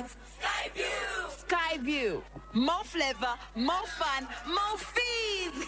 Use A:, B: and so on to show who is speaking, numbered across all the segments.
A: Skyview! Skyview. More flavor, more fun, more fees!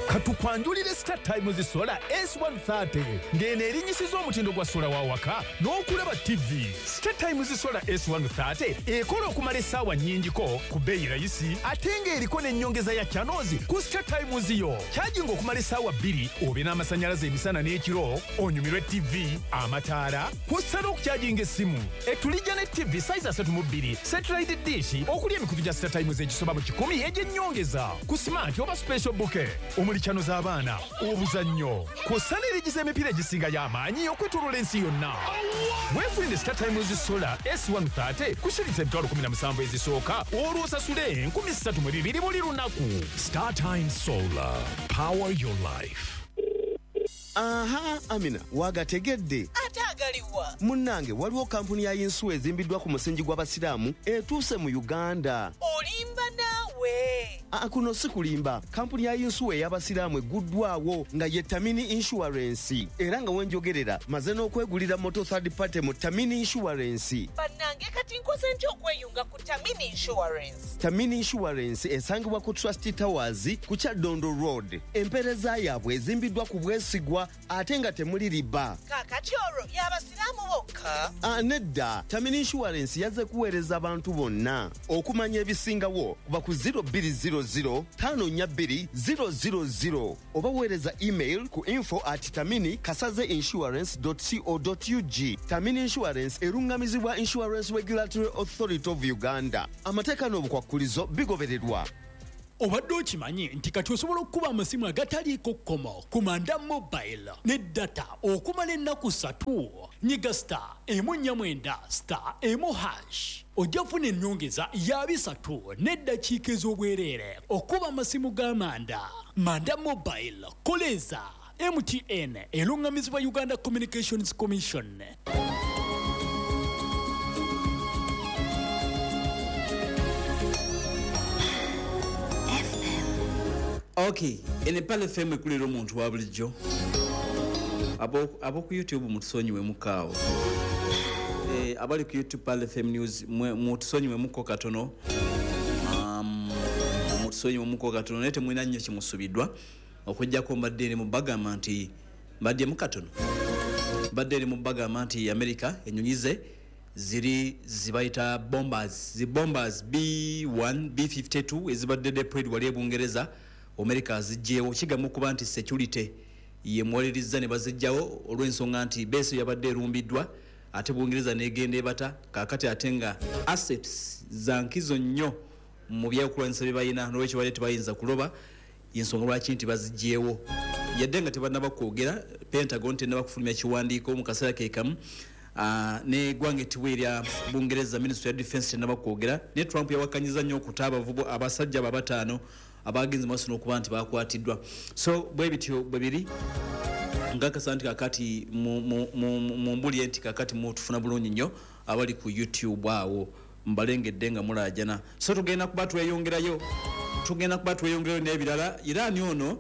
B: Katukwanjulire Star Times Solar S130 ng'eno erinyisiza omutindo gwa sola wa waka n'okulaba TV. Star Times Solar S130 ekola okumala essaawa nnyingiko ku bbeeyi rayisi ate ng'eriko n'ennyongeza ya channels ku Star Times yo. Kyajinga okumala essaawa 2 obe n'amasannyalaze emisana n'ekiro, onyumirwe TV, amataala, kw'ossa n'okukyajinga essimu. Etulijja ne TV size 32, satellite dish okuli emikutu gya Star Times egisoba mu 100 egy'ennyongeza ku smart oba special bouquet omuli channel z'abaana, obuzannyo, kw'ossa n'erigiza emipiira egisinga y'amaanyi okwetooloola ensi yonna. Weefunire Star Times Solar S130 ku shilingi 17,000 ezisooka olwo osasule 3,200 buli lunaku.
C: Star Times Solar, power your life.
D: Aha, Amina, wagategedde.
E: Ate agaliwa?
D: Munnange, waliwo kampuni ya yinsuwa ezimbiddwa ku musingi gw'Abasiraamu etuuse mu Uganda.
E: Olimba naawe.
D: Kuno si kulimba. Kampuni ya yinsuwa ey'Abasiraamu egguddwawo nga ye Tamini Insurance. Era nga wenjogerera maze n'okwegulira moto third party mu Tamini Insurance.
E: Bannange, kati nkoze ntya okweyunga ku Tamini Insurance?
D: Tamini Insurance esangibwa ku Trust Towers ku Kyaddondo Road. Empeereza yaabwe ezimbiddwa ku bwesigwa ate nga temuli riba.
E: Kaakati olwo y'Abasiraamu bokka?
D: Nedda, Tamini Insurance yazze kuweereza abantu bonna. Okumanya ebisingawo kuba ku 0200 542 000 oba weereza email ku info@tamini-insurance.co.ug. Tamini Insurance erungamizibwa Insurance Regulatory Authority of Uganda. Amateeka n'obukwakkulizo bigobererwa.
F: Obadde okimanyi nti kati osobola okukuba amasimu agataliiko kkomo ku Manda Mobile ne data okumala ennaku 3? Nyiga star 149 star 1 hash ojja kufuna ennyongeza ya 3 n'eddakiika ez'obwereere okuba amasimu ga Manda. Manda Mobile, koleza MTN erungamizibwa Uganda Communications Commission.
G: Okay, ene Pale FM ekulira omuntu wa bulijjo. Abo ku YouTube mutusonyiwe mukaawo. Abali ku YouTube Pale FM News mutusonyiwe muko katono. Mutusonyiwe muko katono naye temulina nnyo kimusubiddwa. Okujjako mbadde eri mu bagamba nti mbadde mu katono. Mbadde eri mu bagamba nti America ennyonyi ze ziri zibayita bombers, zi bombers B1, B52 ezibadde deployed wali e Bungereza. America zijjeewo kigamba okuba nti security yemuwaliriza ne bazijjawo olw'ensonga nti beeso yabadde erumbiddwa ate Bungereza n'egenda ebata kaakati ate nga assets za nkizo nnyo mu byokulwanyisa bye balina n'olwekyo badde tebayinza kuloba ensonga lwaki nti bazijjeewo yadde nga tebannaba kwogera. Pentagon tennaba kufulumya kiwandiiko mu kaseera ke kamu n'eggwanga ettiwa erya Bungereza Ministry ya Defense tennaba kwogera. Ne Trump yawakanyiza nnyo okuta abavubu abasajja abo abataano abagenze maaso n'okuba nti bakwatiddwa. So bwe bityo bwe biri ngakasa nti kakati mumbulye nti kakati mutufuna bulungi nnyo abali ku YouTube awo mbalengedde nga mulaajana. So tugenda kuba tweyongerayo n'ebirala. Iran ono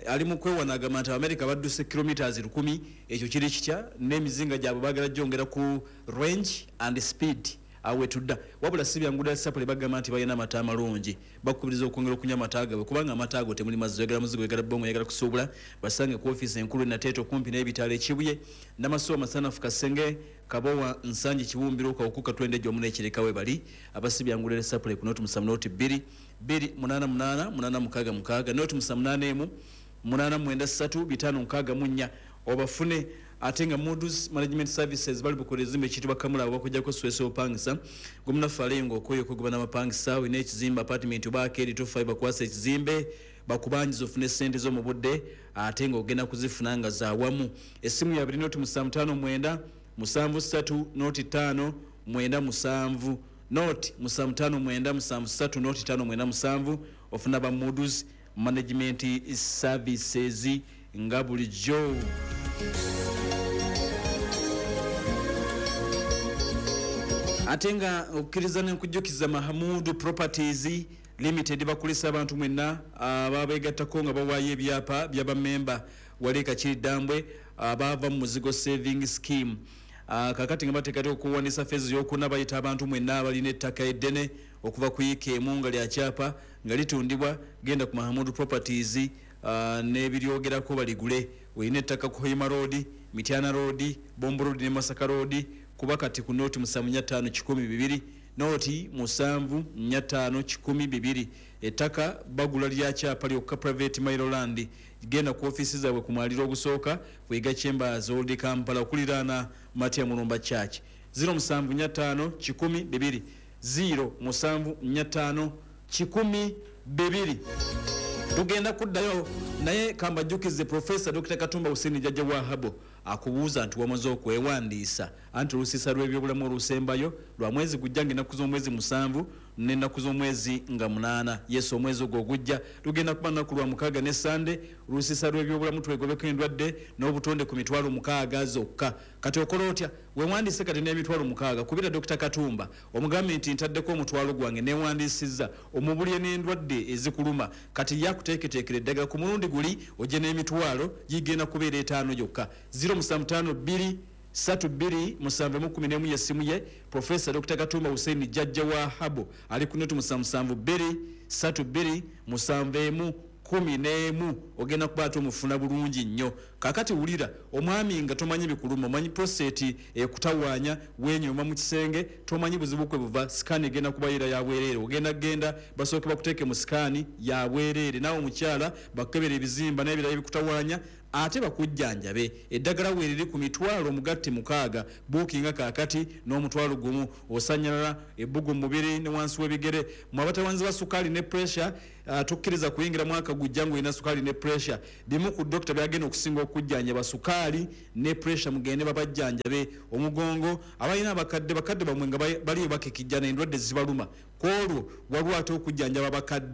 G: ali mu kwewana agamba nti America badduse kilometers 1000, ekyo kiri kitya n'emizinga gyabwe baagala gyongera ku range and speed awe tudda. Wabula si byangu ddala sapule bagamba nti balina amata amalungi, bakubiriza okwongera okunywa amata gaabwe kubanga amata ago temuli mazzi, oyagala muzigo, oyagala bongo, oyagala kusuubula. Basange ku ofiisi enkulu Nateete okumpi n'ebitaala e Kibuye, Namasuwa, Masanafu, Kasenge, Kabowa, Nsangi, Kiwumbiro, Kawukuka, Twende Gyomu n'Ekireka we bali. Abasi byangu ddala sapule ku 0 7 0 2 2 8 8 8 6 6 0 7 8 1 8 9 3 5 6 4 obafune. Ate nga Moody's Management Services bali bukola ezimbe ekiyitibwa Kamula bakujjako Swesi opangisa gwemunafu alenga okoyo okugoba n'amapangisa olina ekizimbe apartment oba arcade 25 bakwasa ekizimbe bakubanjiza ofune ssente zo mu budde ate ng'ogenda kuzifuna nga za wamu. Essimu ya 0 7 5 9 7 3 0 5 9 7 0 7 5 9 7 3 0 5 9 7 ofuna ba Moody's Management Services nga bulijjo. Ate nga okkiriza n'enkujjukiza Mahamudu Properties Limited bakulisa abantu mwenna ababeegattako nga bawaayo ebyapa by'abamemba wali Kakiri Ddambwe abaava mu Muzigo Saving Scheme. Kakati nga bateekateeka okuwandiisa phase yokuna, bayita abantu mwenna abalina ettaka eddene okuva ku yiika emu nga lya kyapa nga litundibwa. Genda ku Mahamudu Properties n'ebiryogerako baligule. Olina ettaka ku Hoima Road, Mityana Road, Bombo Road ne Masaka Road, kuba kati ku 075 102, 0745102. Ettaka bagula lya kyapa lyokka, private mailo land. Genda ku ofiisi zaabwe ku mwaliro ogusooka, Bwega Chambers, Old Kampala, okuliraana Matia Mulumba Church. 0745 102, 0745 102. Tugenda kuddayo, naye kambajjukize, Profesa Dr Katumba Hussein Jajja Wahabo akubuuza nti wamaze okwewandiisa? Anti olusiisa lw'ebyobulamu olusembayo lwa mwezi gujja, nga ennaku z'omwezi 7 n'ennaku z'omwezi nga 8. Yesu, omwezi ogwo ogujja lugenda kuba lunaku lwa mukaaga ne Sande. Olusiisa lw'ebyobulamu, twegobeko endwadde n'obutonde ku 60,000 zokka. Kati okola otya? Wewandiise kati n'60,000. Kubira Dr Katumba, omugambe nti ntaddeko omutwalo gwange, newandiisizza, omubulye n'endwadde ezikuluma. Kati yakuteeketeekera eddagala ku mulundi guli, ojje n'emitwalo gigenda kubeera 5 gyokka. 0752 32 711 yessimu ye. Profesa Dr Katumba Hussein Jajja wa Habo ali ku 072 32 71 11. Ogenda kuba ate omufuna bulungi nnyo. Kakati wulira omwami, nga tomanyi bikuluma, omanyi prostate ekutawaanya, wenyoma mu kisenge, tomanyi buzibu kwe buva, scan egenda kubayira yabwereere. Ogenda genda basooke bakuteeke mu scan yabwereere, naawe omukyala bakukebera ebizimba n'ebirala ebikutawaanya, ate bakujjanjabe. Eddagala weeriri ku mitwalo omugatte 6. Buukinga kaakati n'omutwalo gumu. Osanyalala, ebbugu mu mubiri ne wansi w'ebigere, mwe abatawanzi ba sukaali ne pressure, tukkiriza kuyingira mwaka gujja ng'olina sukaali ne pressure. Bimu ku dokita byagenda okusinga okujjanjaba sukaali ne pressure. Mugende babajjanjabe. Omugongo, abalina abakadde, bakadde bamwe nga baliyo bakekijjana, endwadde zibaluma, kwolwo waliwo ate okujjanjaba abakadde.